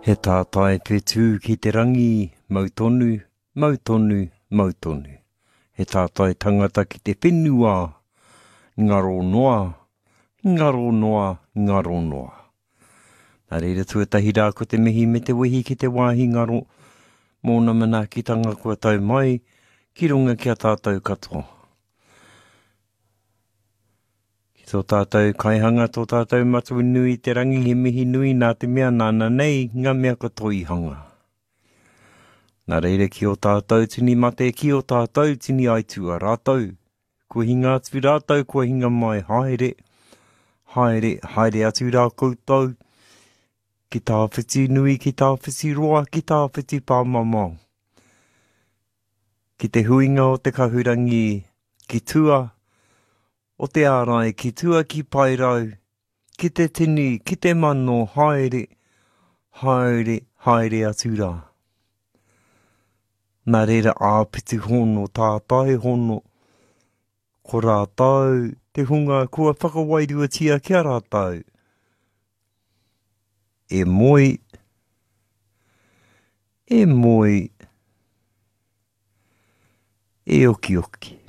He tātai whetū ki te rangi, mau tonu, mau tonu, mau tonu. He tātai tangata ki te whenua, ngaro noa, ngaro noa, ngaro noa. Nā reira tuatahi rā ko te mihi me te wehi ki te wāhi ngaro, mōna manaakitanga kua tau mai ki runga ki a tātou katoa. Ki tō tātou kaihanga, tō tātou Matua nui i te rangi, he mihi nui nā te mea nāna nei ngā mea katoa i hanga. Nā reira ki ō tātou tini mate, ki ō tātou tini aitua rātou, kua hinga atu rātou, kua hinga mai, haere, haere, haere atu rā koutou, ki tāwhiti nui, ki tāwhiti roa, ki tāwhiti pāmamao. Ki te huinga o te kahurangi ki tua o te ārai, ki tua ki Paerau, ki te tini, ki te mano, haere, haere, haere atu rā. Nā reira āpiti hono, tātai hono, ko rātou te hunga kua whakawairuatia ki a rātou. E moe, e moe, e okioki.